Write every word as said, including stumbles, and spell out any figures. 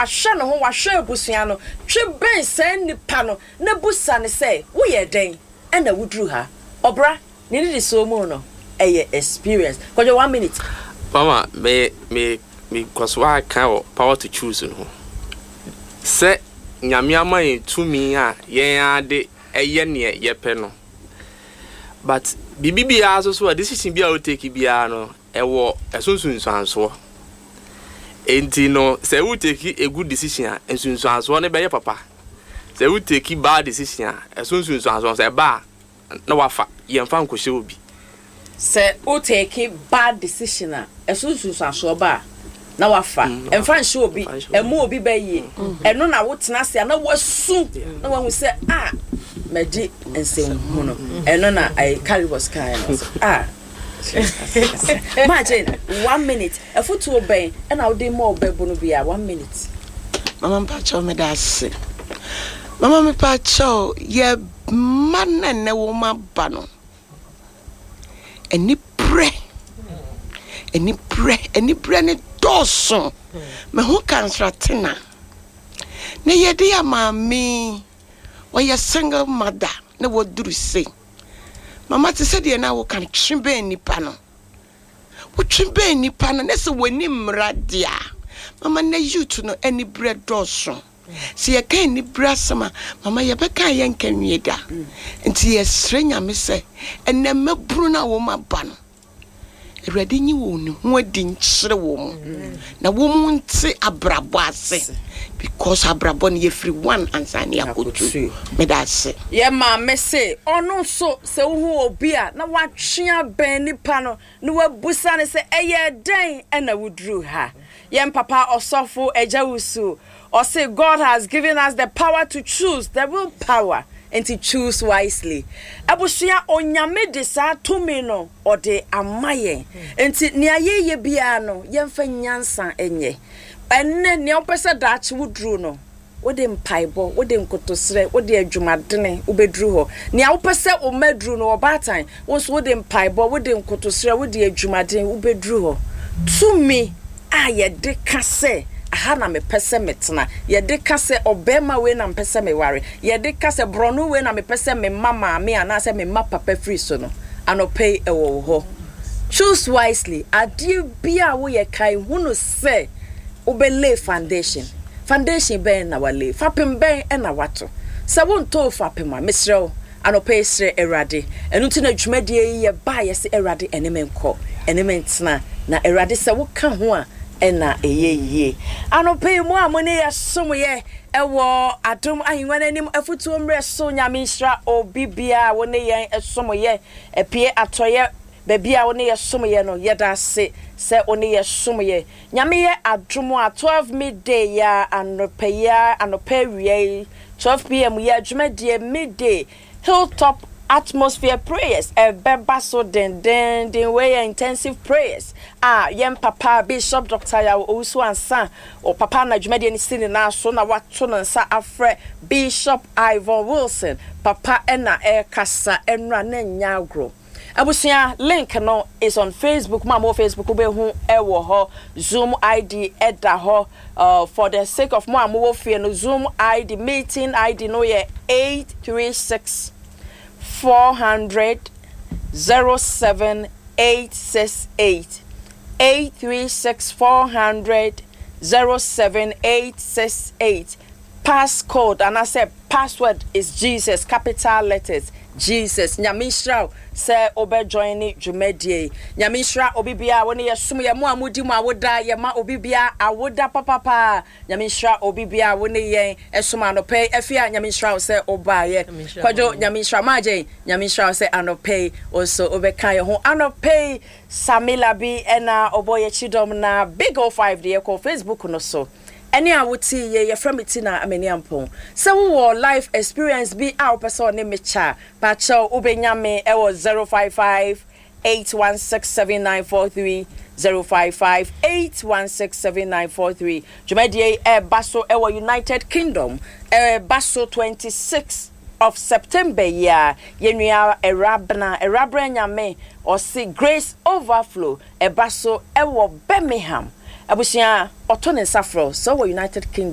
Wahwɛ ne ho, wahwɛ abusua no. Twe bɛn saa nipa no na busa ne sɛ, woyɛ dɛn ɛna woduru ha? Ɔbra ne nnidisoɔ mu no, ɛyɛ experience. Kɔdwo, one minute. Mama, me me me kɔ so aka wɔ power to choose no ho sɛ Nyame ama yɛn tumi a yɛn ade ɛyɛ neɛ yɛpɛ no, but biribi biara nso so a, decision bi a wo take biara no, ɛwɔ ɛso nsunsuansoɔ. Enti no, sɛ wo take a good decision a, nsunsuansoɔ no bɛyɛ papa. Sɛ wo take bad decision a, ɛso nsunsuansoɔ sɛ ɛba a, na wafa yɛmfa nkɔhyɛ obi. Sɛ wo take bad decision a, ɛso nsunsuansoɔ ba a, na wafa ɛmfa nhyɛ obi. Ɛmu obi bɛyie ɛno na wotena ase a na wasu na wahu sɛ a mɛgye nsɛmhu no. Ɛno na ɛyɛ Calibos kan no a. Margin, one minute, ɛfotuo bɛn ɛna wode ma ɔbɛbo no bia? One minute. Mama, mpakyɛw, meda ase. Mama, mepakyɛw, yɛ mma na nnɛ wo ma ba no, aniberɛ, aniberɛ, aniberɛ ne dɔɔso. Meho kansratena na yɛde yɛ maame, wɔyɛ single mother na wɔduru se. Mama, te sɛ deɛ na woka no, twe bɛn nipa no, wotwe bɛn nipa no na sɛ wɔni mmara deɛ a, mama, na youth no aniberɛ dɔɔso. Sɛ yɛka aniberɛ asɛm a, mama, yɛbɛka yɛnka nwie da. Nti yɛsrɛ Nyame sɛ ɛnɛ mmabunu no a wɔn aba no, Awurade nyi wɔn ne ho adi nkyerɛ wɔn mu na wɔn mu nte abrabɔ ase, because abrabɔ no, yɛfiri one ansa ne yɛakɔtu. Meda ase. Yɛ maame se ɔno nso, sɛ wohu obi a, na watwe abɛn nipa no na wabusa ne sɛ, ɛyɛ dɛn ɛna woduru ha? Yɛn papa Ɔsɔfo Agya Wusu ɔse, "God has given us the power to choose, the will power, nti choose wisely." Abusua, Onyame de saa tumi no ɔde ama yɛn, nti nea yɛyɛ biara no, yɛmfa nyansa nyɛ. Ɛnnɛ nea wopɛ sɛ daakye woduru no, wode mpaebɔ, wode nkotosrɛ, wode adwumadene wobɛduru hɔ. Nea wopɛ sɛ wo mma duru no, ɔbaatan, wo nso wode mpaebɔ, wode nkotosrɛ, wode adwumaden wobɛduru hɔ. Tumi a yɛde ka sɛ, aha na mepɛ sɛ metena, yɛde ka sɛ, ɔbɛrima wei na mepɛ sɛ meware, yɛde ka sɛ, borɔno wei na mepɛ sɛ mema maame anaasɛ mema papa firi so no, anɔpɛ yi ɛwɔ wo hɔ. Choose wisely. Adeɛ bi a woyɛ, kae hunu sɛ wobɛlay foundation. Foundation bɛn na walay? Fapem bɛn ɛna wato? Sɛ wontoo fapem a, mesrɛ wo, anɔpɛ yi srɛ Awurade. Ɛno nti na dwumadie yi yɛbaa yɛ sɛ, Awurade, ɛne me nkɔ, ɛne me ntena, na Awurade, sɛ woka ho a, ɛna ɛyɛ yie. Anɔpɛ yi mu a mo ne yɛsom yɛ ɛwɔ Adom Ahengua no anim afotuo mmerɛ so, Nyame nhyira obi biara a wo ne yɛn ɛsom yɛ apie atɔyɛ baabi a wo ne yɛ som yɛ no. Yɛda ase sɛ wo ne yɛ som yɛ. Nyame yɛ adom a, twelve midday yɛ anɔpɛ yi a, anɔpɛ awia yi, twelve p m yɛ adwumadie Midday Hilltop Atmosphere Prayers ɛbɛba so dendenden. Wei yɛ intensive prayers a yɛn papa Bishop Doctor Yaw Owusu Ansa o papa na dwumadie no si ne nan so na wato ne nsa afrɛ Bishop Ivan Wilson papa ɛna ɛrekasa ɛnura ne nya agorɔ. Abusua, link no is on Facebook. Mo a mo wɔ Facebook, wobɛhu ɛwɔ hɔ. Zoom I D ɛda hɔ. uh, for the sake of mo a mowɔ fie no, Zoom I D, meeting I D no yɛ eight three six four hundred zero seven eight six eight, eight three six four hundred zero seven eight six eight. Passcode anaasɛ password is Jesus, capital letters Jesus. Nyame nhyira wo sɛ wobɛjoin ne dwumadie yi. Nyame nhyira obi biara wo ne yɛsom yɛ. Mo a modi mo awoda, yɛma obi biara awoda papapaa. Nyame nhyira obi biara wo ne yɛn ɛsom anɔpɛ yi. Afi a, Nyame nhyira wo sɛ wobaayɛ. Kwadwo, Nyame nhyira. Maagyen, Nyame nhyira wo sɛ anɔpɛ yi wo nso wobɛka yɛ ho. Anɔpɛ yi, Samila bi ɛna ɔbɔ yɛkyi dɔm na Big O five de yɛkɔ Facebook no so. Ɛne a wote yɛ, yɛfrɛ me Tina Amani Ampɔn. Sɛ wowɔ life experience bi a wopɛ sɛ ɔne me kyɛ a, pakyɛw, wobɛnya me ɛwɔ zero five five eight one six seven nine four three, zero five five eight one six seven nine four three. Dwumadie yi ɛreba so ɛwɔ United Kingdom, ɛreba so twenty-six of September yi a yɛnua Awurabena Awurabena Nyame ɔse Grace Overflow ɛba so ɛwɔ Birmingham. Abusua, ɔto ne nsa frɛ sɛ ɔwɔ United Kingdom.